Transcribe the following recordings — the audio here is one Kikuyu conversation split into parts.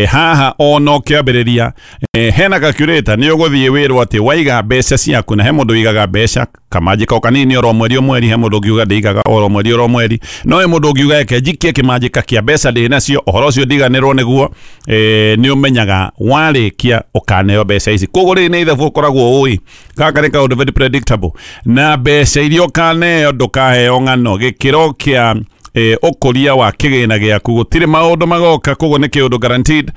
Haha ono kĩambĩrĩria hena calculator nĩ ũgũthiĩ wĩrwo atĩ waiga mbeca ciaku, na he mũndũ ũigaga mbeca kamanjĩka o kanini oro mweri o mweri, he mũndũ ũngiuga ndĩigaga oro mweri oro mweri, no he mũndũ ũngiuga eke njikie kĩmanjĩka kĩa mbeca ndĩ nacio, ũhoro ũcio ndiganĩrwo nĩguo. Nĩ ũmenyaga warĩkia ũkaneo mbeca ici. Koguo rĩrĩ nĩ ithabu ũkoragwo ũĩ gaka nĩ kaũndũ very predictable, na mbeca iria ũkaneo ndũkaheo ng'ano. Gĩkĩro kĩa ũkũria wa kĩgĩna gĩaku gũtirĩ maũndũ magoka, koguo nĩ kĩũndũ guaranteed.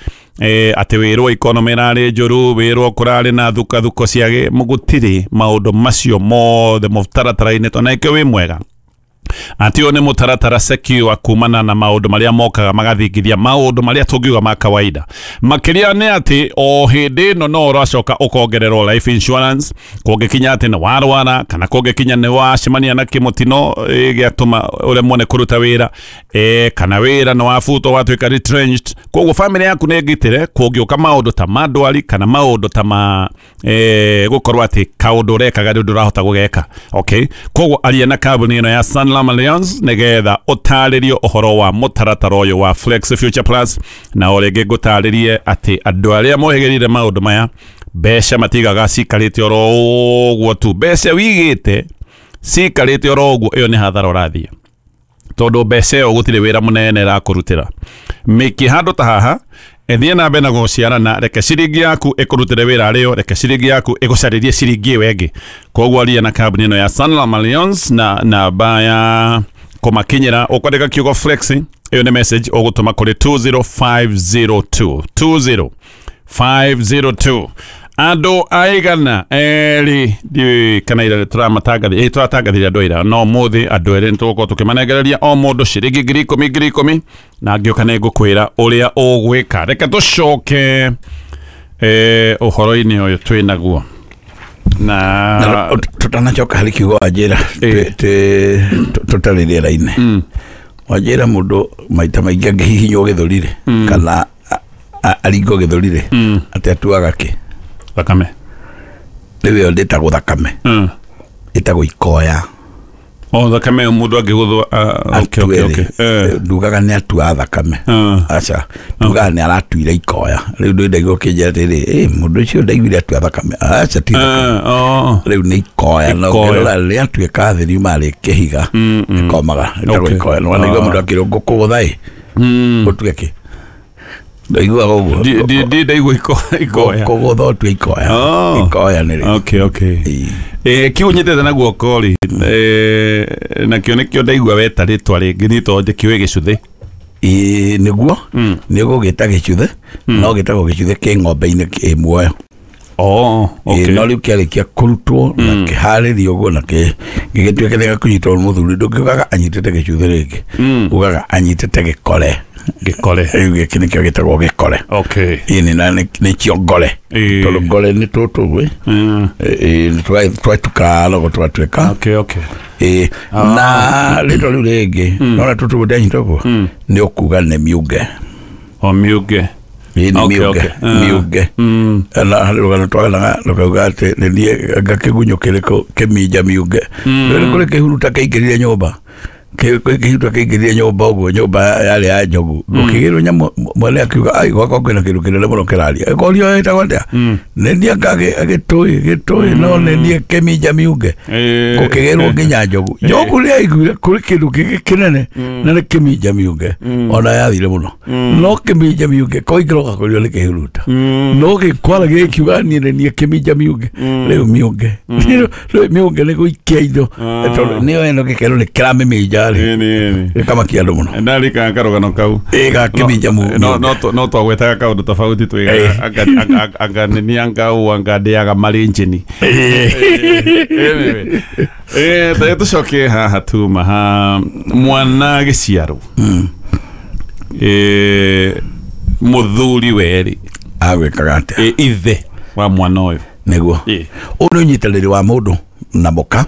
Atĩ wĩrwo economy ĩrarĩ njũru, wĩrwo kũrarĩ na thukathuko cia gũtirĩ maũndũ macio mothe mũtaratara-inĩ, tondũ na ĩkĩo wĩ mwega atĩ ũyũ nĩ mũtaratara secure kumana na maũndũ marĩa mokaga magathingithia maũndũ marĩa tũngiuga ma kawaida. Makĩria nĩ atĩ o hĩndĩ ĩno no ũracoka ũkongererwo life insurance kũngĩkinya atĩ nĩ warwara, kana kũngĩkinya nĩ wacemania na kĩmũtino gĩatũma ũremwo nĩ kũruta wĩra, kana wĩra nĩ wabutwo watuĩka retrenched. Koguo family yaku nĩ ngitĩre kũngĩũka maũndũ ta ma ndwari kana maũndũ ta ma gũkorwo atĩ kaũndũ ũrekaga rĩu ndũrahota gũgeka. Okay, koguo aria na kambuni ĩno ya Sanlam Alliance nĩgetha ũtarĩrio ũhoro wa mũtaratara ũyũ wa Flex Future Plus, na o rĩngĩ ngũtarĩrie atĩ andũ arĩa mohĩgĩrĩire maũndũ maya mbeca matigaga cikarĩte oro ũguo tu. Mbeca wigĩte cikarĩte oro ũguo, ĩyo nĩ hathara ũrathiĩ, tondũ mbeca ĩyo gũtirĩ wĩra mũnene ĩrakũrutĩra. Mĩkie handũ ta haha, ĩthiĩ na mbere na gũciarana, reke ciringi yaku ĩkũrutĩre wĩra arĩo, reke ciringi yaku ĩgũcarĩrie ciringi ĩyo ĩngĩ. Koguo aria na kambuni ĩno ya Sanlam Alliance na namba ya kũmakinyĩra ũkwandĩka kiugo flex, ĩyo nĩ message ũgũtũma kũrĩ 20502 20502. Andũ aigana erĩ ndiũĩ kana ira tũramatangathire, tũratangathire andũ aira, no ũmũthĩ andũ erĩ nĩtũgũkorwo tũkĩmanengereria o mũndũ ciringi 10,000 10,000, na ngĩũka nĩ ngũkwĩra ũrĩa ũgwĩka. Reke tũcoke ũhoro-inĩ ũyũ twĩ naguo na tutanacoka harĩ kiugo wanjĩra tũtarĩ rĩera-inĩ. Wanjĩra mũndũ maita maingĩ angĩhihinywo gĩthũri-rĩ, kana aringwo gĩthũri-rĩ, atĩ atuaga kĩ? Thakame. Rĩu ĩyo ndĩtagwo thakame, ĩtagwo ikoya. O thakame mũndũ angĩgũthwo. Okay. Ndugaga nĩ atua thakame. Aca, ndugaga nĩ aratuire ikoya. Rĩu ndĩ ndaigua ũkĩnjĩra atĩrĩ, mũndũ ũcio ndaiguire atua thakame. Aca, ti thakame. Rĩu nĩ ikoya. Na ũkĩrora rĩrĩa atuĩka thĩ riuma rĩ kĩhiga, ĩkomaga, ĩtagwo ikoya. Na wanaigua mũndũ akĩrwo ngũkũgũtha ĩ, ũtue kĩ? Ndaiguaga ũguo. Ndi ndaigua ikoya. Kũgũtha ũtue ikoya. Ikoya nĩ rĩ. Okay. Kiu nyitĩte na guoko rĩ, nakĩo nĩkĩo ndaigua weta rĩtwa rĩngĩ nĩ tondũ ndĩkĩũĩ gĩcuthĩ. Nĩguo nĩ ũgũgĩta gĩcuthĩ, no gĩtagwo gĩcuthĩ kĩ ng'ombe-inĩ kĩ muoyo. Okay. No rĩu kĩarĩkia kũrutwo na kĩharĩrio ũguo na gĩgĩtuĩka nĩ gĩkũnyitwo nĩ mũthuri, ndũngiugaga anyitĩte gĩcuthĩ rĩngĩ, ugaga anyitĩte gĩkore. Gĩkore. Rĩu gĩkĩ nĩkĩo gĩtagwo gĩkore. Okay. Ĩĩ na nĩkĩo ngore. Tondũ ngore nĩ tũtũ ũguo. Twatuka rogo twatuĩka. Okay. Na rĩtwa rĩu rĩngĩ, nona tũtũ ũguo ndanyita ũguo, nĩ ũkuga nĩ miunge. O miunge. Ĩĩ nĩ miunge. Miunge. Na harĩ rũgano twaganaga rũkauga atĩ nĩ niĩ anga kĩgunyũ kĩrĩkũ kĩminja miunge. Rĩu kũrĩ kĩhuruta kĩingĩrire nyũmba. Kĩhuruta kĩingĩrire nyũmba ũguo, nyũmba yarĩ ya njogu. Gũkĩgĩrwo nyamũ, mwene akiuga, ai, gwakwa kwĩna kĩndũ kĩnene mũno kĩraria. Ĩkorio ĩtagwo atĩa? Nĩ niĩ anga gĩtũĩ, no nĩ niĩ kĩminja miunge. Gũkĩgĩrwo nginya njogu. Njogu nĩ yaiguire kũrĩ kĩndũ kĩngĩ kĩnene na nĩ kĩminja miunge. Ona yathire mũno. No kĩminja miunge koingĩra ũgakorio nĩ kĩhuruta. No gĩkwara gĩkiuga niĩ nĩ niĩ kĩminja miunge. Rĩu miunge. Rĩu miunge nĩ gũikia indo. Tondũ nĩyo ĩno gĩkero nĩ kĩramĩminja rĩ. Gĩkamakia andũ mũno. Ndarikana karũgano kau. Gakĩminja miunge. No twagwetaga kaũndũ tofauti twigaga anga nĩ anga ũ anga ndĩaga marĩ njini. Anyway. Tũcoke haha tuma ha mwana gĩciarwo. Mũthuri werĩ. Agwĩkaga atĩa? Ithe wa mwana ũyũ. Nĩguo. Ũyũ nĩ ũnyitanĩri wa mũndũ na mũka.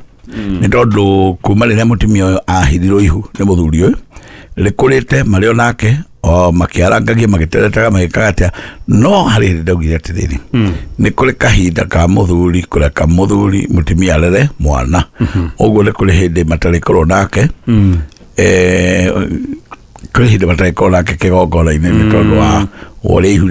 Nĩ tondũ kuma rĩrĩa mũtumia ũyũ ahirirwo ihu nĩ mũthuri ũyũ, rĩkũrĩte marĩ o nake, o makĩarangagia, magĩteretaga, magĩkaga atĩa. No harĩ hĩndĩ ndaugire atĩrĩrĩ, nĩ kũrĩ kahinda ka mũthuri kũreka mũthuri mũtumia arere mwana. Ũguo nĩ kũrĩ hĩndĩ matarĩkorwo nake. Kũrĩ hĩndĩ matarĩkorwo nake kĩgongona-inĩ nĩ tondũ wa Wa ũrĩa ihu.